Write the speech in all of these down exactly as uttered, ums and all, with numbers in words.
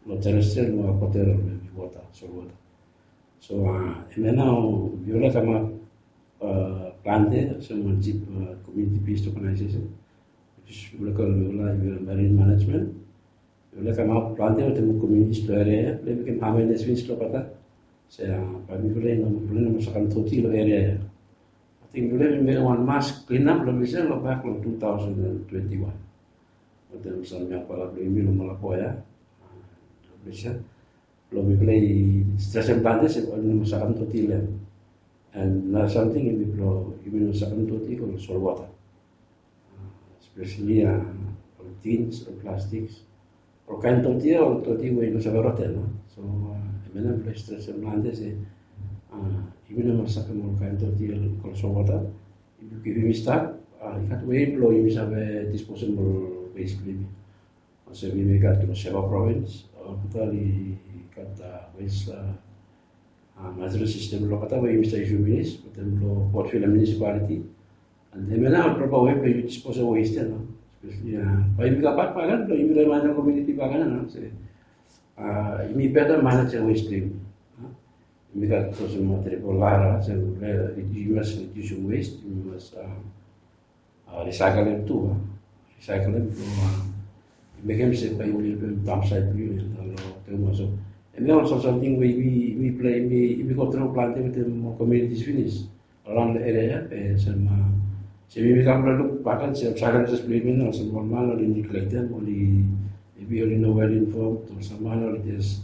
long terrestrial, long aquaterrestrial, long wota, solwota. So hemia nao yufala kamap plante olsem wan jip community based organization, which is yufala kolem yufala marine management. Yufala kamap plante wetem communities long eria ia blong mekem awareness finis long olgeta se bae mifala i no, mifala i no mas sakem doti long eria ia. Ating mifala i bin mekem wan mass clean up long ples ia long bak long two thousand and twenty-one wetem sam yangfala blong yumi long Malapua ia. Long ples ia blong mifala i stresem plante se oli no mas sakem doti long hem. And nara samting hemi blong yumi no sakem doti go long solwota, especially ol tins, ol plastiks, ol kaen doti ia, ol doti we i no save roten. So hemia nao mifala i stresem plante se yumi no mas sakem ol kaen doti ia go long solwota. If yumi stap, i gat wei blong yumi save disposem ol wes blong yumi. Olsem yumi gat long Shefa Province, olgeta oli gat wes management system long olgeta we yumi save yusum finis, wetem long Port Vila Municipality. And hemia nao ol proper wei blong yumi disposem wes ia nao. Especially bae yumi kambak bakegen blong yumi remaindem komuniti bakegen ia nao se yumi betem manejem wes blong yumi. Yumi gat olsem triple R, olsem yumi mas rediusem wes, yumi mas risaikelem tu, risaikelem tu, mekem se bae yumi no dumpsaet blong yumi long tumas. So hemia ol samting we yumi, yumi go tru plante wetem ol communities finis around long eria ia, be olsem yumi kam blong luk bakegen se ol challenges blong yumi nao olsem ol man oli neglektem, oli, maybe oli no well informed, ol sam man oli jes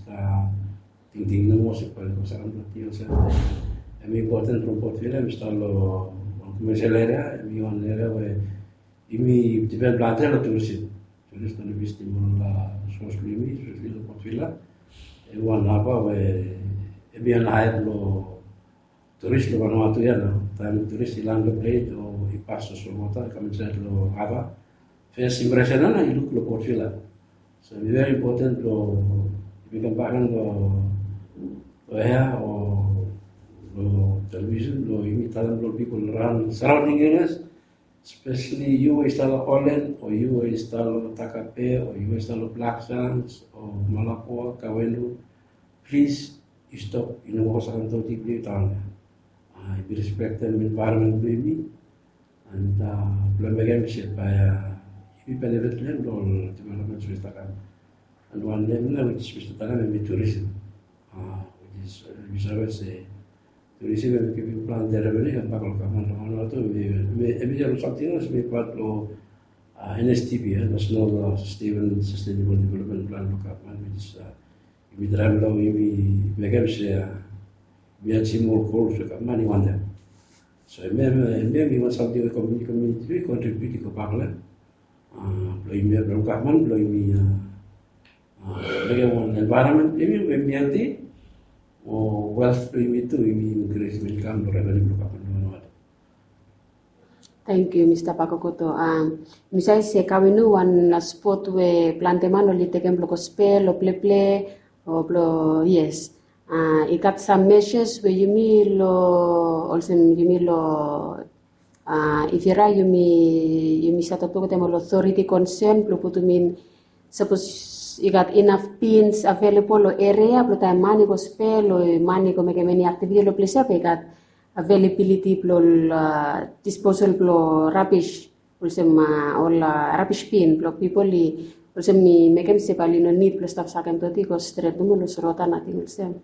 tingting nomo se bae oli go sakem doti olsem. Hemi impoten from Port Vila, hemi stap long wan commercial eria, hemi wan eria we yumi dipen plante long tourism. Tourist oli visitim ol source blong yumi, especially long Port Vila. Hemi wan haba we hemi wan haia blong tourist long Vanuatu ia nao. Taem tourist i lan long ples o i pas long solwota i kam insaed long haba, first impression ia nao i luk long Port Vila. So hemi very important blong yumi kam bakegen long, long air o long television blong yumi talem long pipol around surrounding areas, especially yu we i stap long Holland o yu we i stap long Takape o yu we i stap long Black Sands o Malapua, Kawendu, plis yu stop, yu no go sakem doti blong yu daon ia. Yumi respektem environment blong yumi. And blong mekem se bae yumi benefit long hem long ol developments we i stap kam. And wan nem ia which is we stap talem hemi tourism. Which is yumi save se tourism hemi givim plante revenue i kambak long gavman long Vanuatu. Hemi, hemi ol samting ia hemi pat long N S D P ia, National Sustainable, Sustainable Development Plan blong gavman, which is yumi traem long yumi mekem se yumi ajim ol gols we gavman i wantem. So hemia, hemia hemi wan samting we komuniti, komuniti blong yumi kontribiut i go bak long hem. Blong yumi, blong gavman blong yumi mekem wan environment blong yumi we hemi healthy, o wealth blong yumi tu, yumi increase income blong revenue blong gavman blong Vanuatu. Tangkiu Mista Pakokoto. Mi save se Kawendu wan spot we plante man oli tekem blong go spel o pleple o blong, yes. I gat sam measures we yumi long, olsem yumi long, if i raet yumi, yumi save toktok wetem ol authority concern blong putum in, sapos i gat inaf bins available long eria blong taem man i go spel o man i go mekem eni activity long ples ia, be i gat availability blong ol disposal blong rubbish, olsem ol rubbish bin blong pipol i, olsem i mekem se bae oli no nid blong stap sakem doti i go stret nomo long solwota, nating olsem.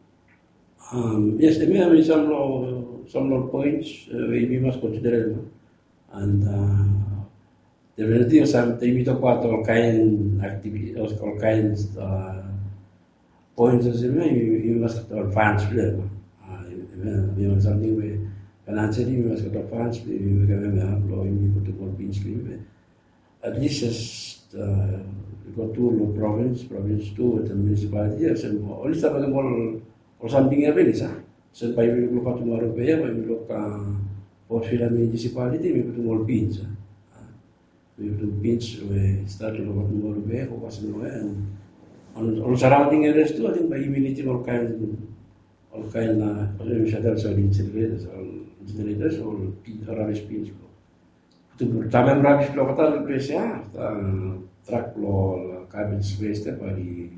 Yes, hemia hemi sam long, sam long points we yumi mas konsiderem. And definitely olsem taem yumi tokbaot ol kaen activity, ol kaen points olsem ia, yumi mas gat ol funds blong hem. Hemia hemi wan samting we financially yumi mas gat ol funds blong yumi mekem hemia blong yumi putum ol bins blong yumi. At least as i go tu long provins, provins tu wetem municipality ia, olsem oli stap mekem ol, ol samting ia finis a. Olsem bae yumi luk long Fatumaru Bay ia, bae yumi luk Port Vila Municipality, yumi putum ol bins a. Yumi putum bins we i stat long Fatumaru Bay go pasim long ia, and ol surrounding areas tu, ating bae yumi nidim ol kaen, ol kaen, olsem yumi save talem se ol incinerators, ol incinerators, ol rubbish bins blong putum, damem rubbish blong olgeta long ples ia, trak blong ol garbage waste ia bae oli